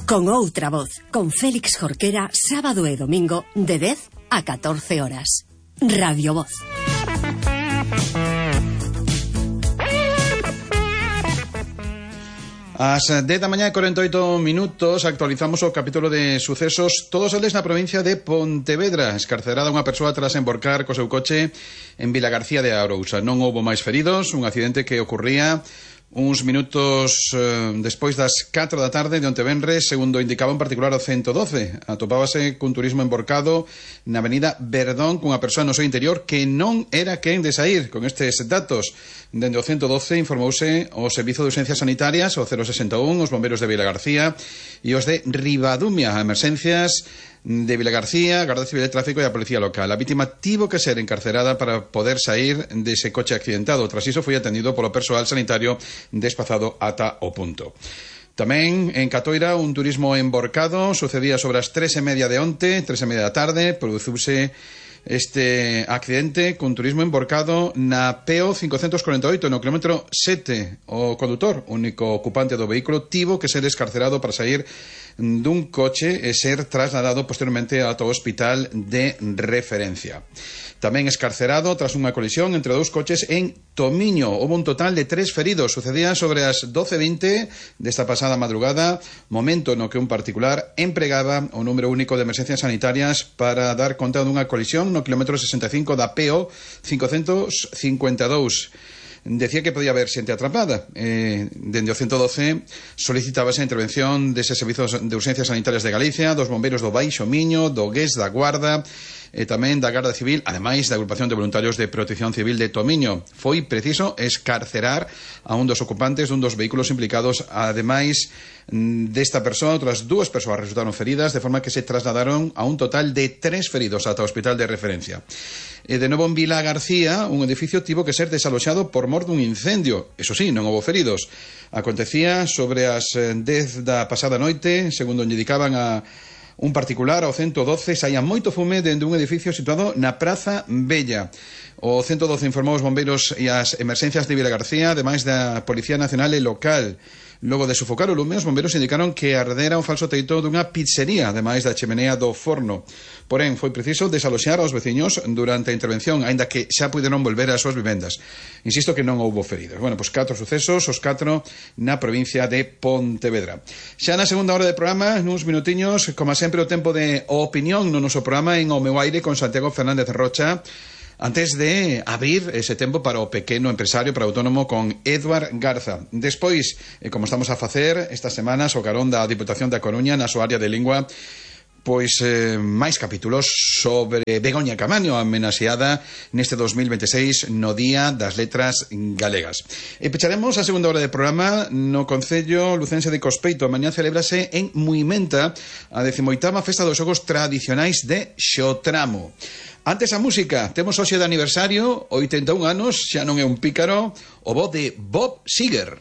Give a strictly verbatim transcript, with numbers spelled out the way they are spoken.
Con outra voz, con Félix Jorquera, sábado e domingo, de dez a catorce horas. Radio Voz. Ás dez da mañá e cuarenta e oito minutos actualizamos o capítulo de sucesos, todos eles na provincia de Pontevedra. Escarcerada unha persoa tras emborcar co seu coche en Vilagarcía de Arousa. Non houbo máis feridos, un accidente que ocurría uns minutos eh, despois das catro da tarde de onte venres, segundo indicaba en particular o ciento doce. Atopábase cun turismo emborcado na avenida Verdón cunha persoa no seu interior que non era quen de sair. Con estes datos, dende o ciento doce informouse o Servizo de Urxencias Sanitarias, o cero sesenta e un, os bomberos de Vilagarcía e os de Ribadumia, a emerxencias de Vilagarcía, Garda Civil de Tráfico e a Policía Local. A vítima tivo que ser encarcerada para poder sair dese coche accidentado. Tras iso foi atendido polo persoal sanitario despazado ata o punto. Tamén en Catoira un turismo emborcado sucedía sobre as tres e media de onte, tres e media da tarde, produciuse este accidente cun turismo emborcado na P O cincocentos corenta e oito no kilómetro sete. O condutor, único ocupante do vehículo, tivo que ser escarcerado para sair dun coche e ser trasladado posteriormente ao hospital de referencia. Tamén escarcerado tras unha colisión entre dous coches en Tomiño. Houve un total de tres feridos. Sucedía sobre as doce e vinte desta pasada madrugada, momento no que un particular empregaba o número único de emerxencias sanitarias para dar conta dunha colisión no kilómetro sesenta e cinco da P O cincocentos cincuenta e dous. Decía que podía haber xente atrapada. Eh, dende o ciento doce solicitábase a intervención deses servizos de urxencias sanitarias de Galicia, dos bombeiros do Baixo Miño, do Gués, da Guarda e tamén da Garda Civil, ademais da Agrupación de Voluntarios de Protección Civil de Tomiño. Foi preciso escarcerar a un dos ocupantes dun dos vehículos implicados. Ademais desta persoa, outras dúas persoas resultaron feridas, de forma que se trasladaron a un total de tres feridos ata o hospital de referencia. E de novo en Vila García, un edificio tivo que ser desaloxado por mor dun incendio. Eso sí, non houbo feridos. Acontecía sobre as dez da pasada noite, segundo indicaban a un particular ao ciento doce, saía moito fume dende un edificio situado na Praza Bella. O ciento doce informou os bombeiros e as emerxencias de Vilagarcía, ademais da Policía Nacional e Local. Logo de sufocar o lume, os bombeiros indicaron que ardera un falso teito dunha pizzería, ademais da chemenea do forno. Porén, foi preciso desaloxar aos veciños durante a intervención, aínda que xa puderon volver ás súas vivendas. Insisto que non houbo feridos. Bueno, pois catro sucesos, os catro na provincia de Pontevedra. Xa na segunda hora de programa, nuns minutiños, como sempre, o tempo de opinión no noso programa en O Meu Aire con Santiago Fernández Rocha, antes de abrir ese tempo para o pequeno empresario, para o autónomo, con Eduard Garza. Despois, eh, como estamos a facer estas semanas, o carón da Diputación da Coruña na súa área de lingua, pois eh, máis capítulos sobre Begoña Camaño, amenaxeada neste dos mil veintiséis no Día das Letras Galegas. E pecharemos a segunda hora de programa no Concello Lucense de Cospeito. Mañá celébrase en Muimenta a decimoitava Festa dos Xogos Tradicionais de Xotramo. Antes a música, temos hoxe de aniversario, oitenta e un anos, xa non é un pícaro, o voz de Bob Seger.